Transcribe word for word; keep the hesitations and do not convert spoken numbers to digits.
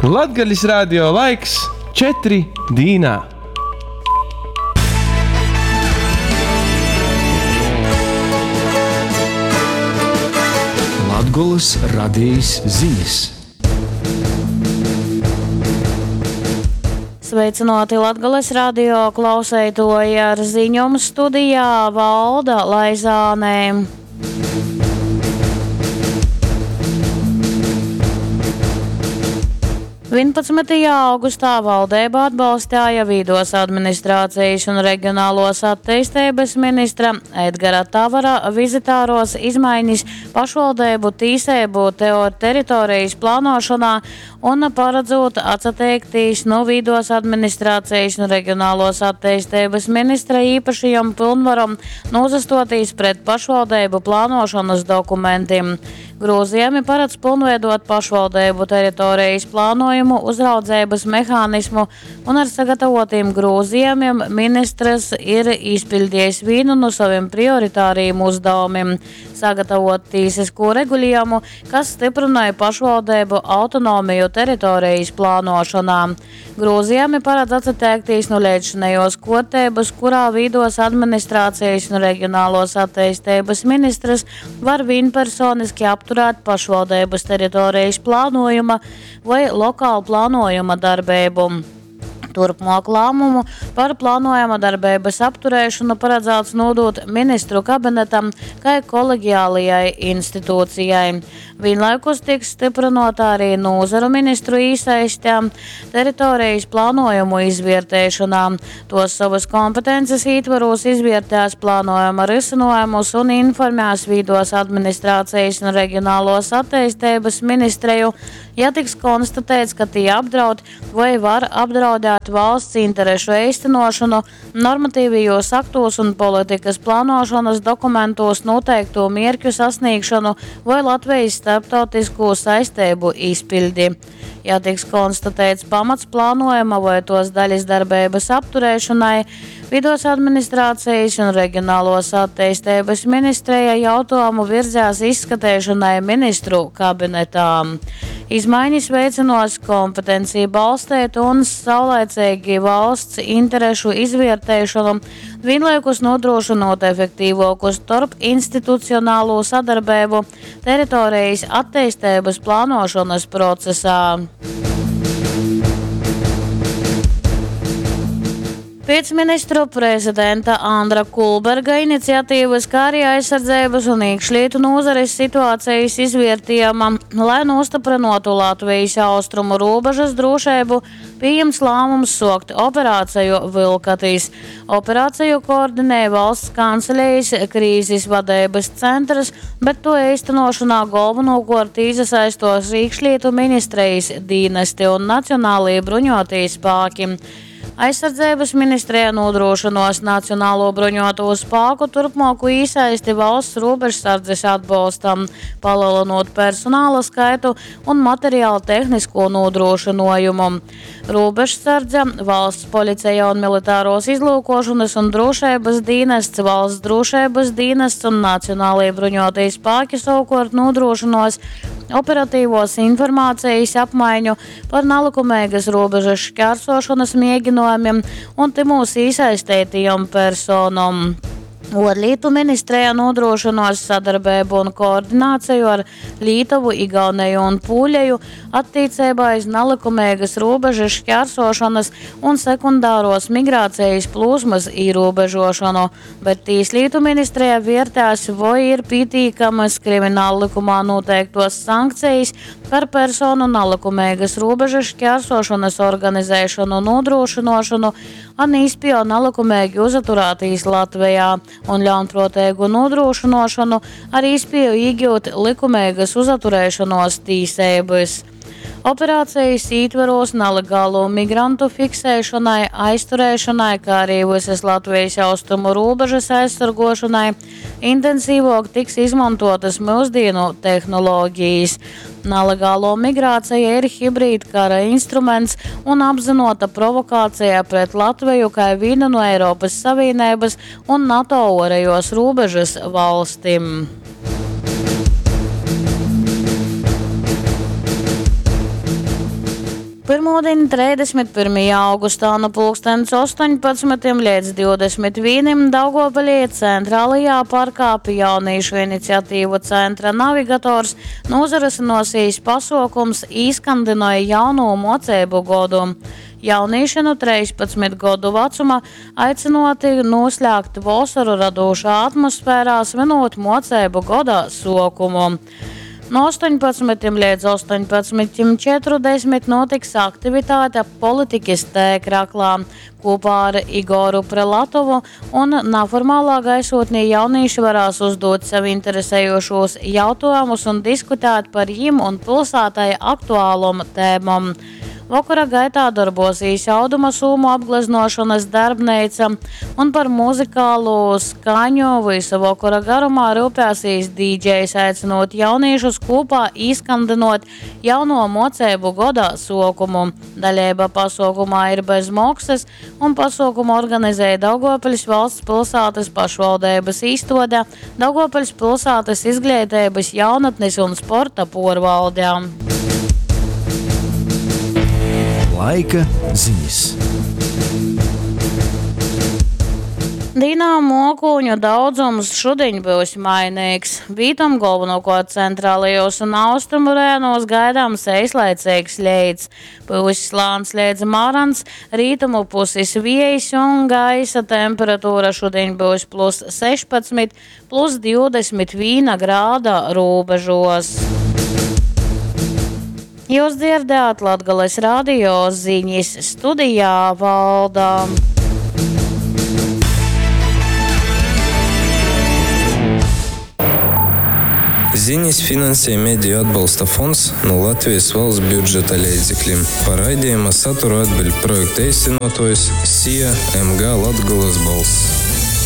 Latgalis radio laiks četri dīnā. Latgolys radejis zinis. Sveicināti Latgales radio klauseitoji ar ziņom studijā Valda Laizānē. vienpadsmitajā augustā valdība atbalstīja Vīdos administrācijas un reģionālos attīstības ministra Edgara Tavara vizitāros izmaiņas pašvaldību tīsību teritorijas plānošanā un paredzot atsateikties no Vīdos administrācijas un reģionālos attīstības ministra īpašajam pilnvaram nozastoties pret pašvaldību plānošanas dokumentiem. Grozījumi paredz pilnveidot pašvaldību teritorijas plānojumu, uzraudzības mehānismu un ar sagatavotiem grozījumiem ministrs ir izpildījis vienu no saviem prioritāriem uzdevumiem – sagatavot tīsisko regulējumu, kas stiprināja pašvaldību autonomiju teritorijas plānošanā. Grozījumi paredz atsateikties no līdzšinējos kārtības, kurā vīdos administrācijas un reģionālos attīstības ministrs var vienpersoniski apturēt pašvaldības teritorijas plānojuma vai lokālu plānojuma darbību. Turpmāk lēmumu par plānojama darbības apturēšanu paredzēts nodot ministru kabinetam, kā kolegiālajai institūcijai. Vienlaikus tiks stiprinota arī nozaru ministru īsaiste teritorijas plānojumu izvērtēšanā. Tos savas kompetences ietvaros izvērtēs plānojuma risinājumus un informēs vīdos administrācijas un reģionālos attīstības ministriju, ja tiks konstatēts, ka tie apdraud vai var apdraudēt valsts interešu īstenošanu, normatīvajos aktos un politikas plānošanas dokumentos noteikto mērķu sasniegšanu vai Latvijas starptautisko saistību izpildi. Ja tiks konstatēts pamats plānojuma vai tos daļas darbības apturēšanai, Vidos administrācijas un reģionālos attīstības ministrija jautājumu virzās izskatīšanai ministru kabinetā. Izmaiņas veiциnos kompetenciju balstēt un saulaicīgi valsts interešu izvērtēšanu, vienlaikus nodrošinot efektīvāku starp institucionālo sadarbību teritorijas attīstības plānošanas procesā. Pēc ministru prezidenta Andra Kulberga iniciatīvas, kā arī aizsardzības un iekšlietu nozares situācijas izvērtējuma, lai nostiprinātu Latvijas austrumu robežas drošību, pieņemts lēmums sokt operāciju Vilkatīs. Operāciju koordinēja valsts kancelējas krīzes vadības centrs, bet to īstenošanā galvenokārt iesaistos iekšlietu ministrijas dienesti un nacionālie bruņotie spēki. Aizsardzības ministrija nodrošinos Nacionālo bruņoto spēku turpmāku iesaisti valsts robežsardzes atbalstam, palielinot personāla skaitu un materiālu tehnisko nodrošinājumu. Robežsardze, valsts policija un militāros izlūkošanas un drošības dienests, valsts drošības dienests un Nacionālie bruņotie spēki savukārt nodrošinos operatīvos informācijas apmaiņu par nelikumīgas robežas šķērsošanas mēģinājumiem un timūs iesaistītajām personām. Ārlietu ministrija nodrošinos sadarbību un koordināciju ar Lietuvu, Igauniju un Pūleju attiecībā iz nelikumīgas robežas šķērsošanas un sekundāros migrācijas plūsmas ierobežošanu, bet Tieslietu ministrija vērtēs, vai ir pietiekamas krimināla likumā noteiktos sankcijas par personu nelikumīgas robežas šķērsošanas organizēšanu un nodrošināšanu un īspēju nelikumīgi uzaturētīs Latvijā un ļaunprātīgu nodrošināšanu ar īspēju iegūt likumīgas uzaturēšanos tīsības. Operācijas ietvaros nelegālo migrantu fiksēšanai, aizturēšanai, kā arī visas Latvijas austrumu robežas aizsargošanai intensīvāk tiks izmantotas mūsdienu tehnoloģijas. Nelegālo migrācija ir hibrīdkara instruments un apzinota provokācija pret Latviju kā vienu no Eiropas Savienības un NATO orējos robežas valstīm. Pyrmūdiņ, treisdesmit pyrmajā augustā nu pulkstens ostoņpadsmitim līdz divdesmit vīnim Daugavpilī centrālajā parkā pie jauniešu iniciatīvu centra Navigators nozarisinosies pasākums Īskandināja jauno mocību godu. Jaunieši no trīspadsmit gadu vecuma aicināti noslēgt vasaru radošā atmosfērā, svinot mocību gada sokumu. No astoņpadsmitim līdz astoņpadsmitim četrdesmit notiks aktivitāte Politiķis T-kraklā kopā ar Igoru Prelatovu un neformālā gaisotnī jaunieši varēs uzdot sev interesējošos jautājumus un diskutēt par jim un pilsētai aktuālom tēmom. Vakara gaitā darbosīs auduma sūmu apgleznošanas darbnīca un par muzikālo skaņu visa vakara garumā rūpēsīs dīdžejs, aicinot jauniešus kopā īskandinot jauno mocību goda sokumu. Daļība pasaukumā ir bez maksas un pasaukumu organizēja Daugavpils valsts pilsētas pašvaldības īstode, Daugavpils pilsētas izglītības, jaunatnes un sporta porvalde. Laika ziņas. Dīnā mokūņu daudzums šodien būs mainīgs. Vītam galvenokārt centrālajos un austrumu rajonos gaidāms eislaicīgs leits. Būs slāns līdz marans, rītumu puses viejs un gaisa temperatūra šodien būs plus sešpadsmit, plus divdesmit viena grāda robežos. Jūs dzirdējāt Latgales radio ziņas studijā Valda. Ziņas finansē Mediju atbalsta fonds no Latvijas valsts budžeta līdzekļiem. Par raidījuma saturu atbild projekta īstenotājs S I A M G Latgales balss.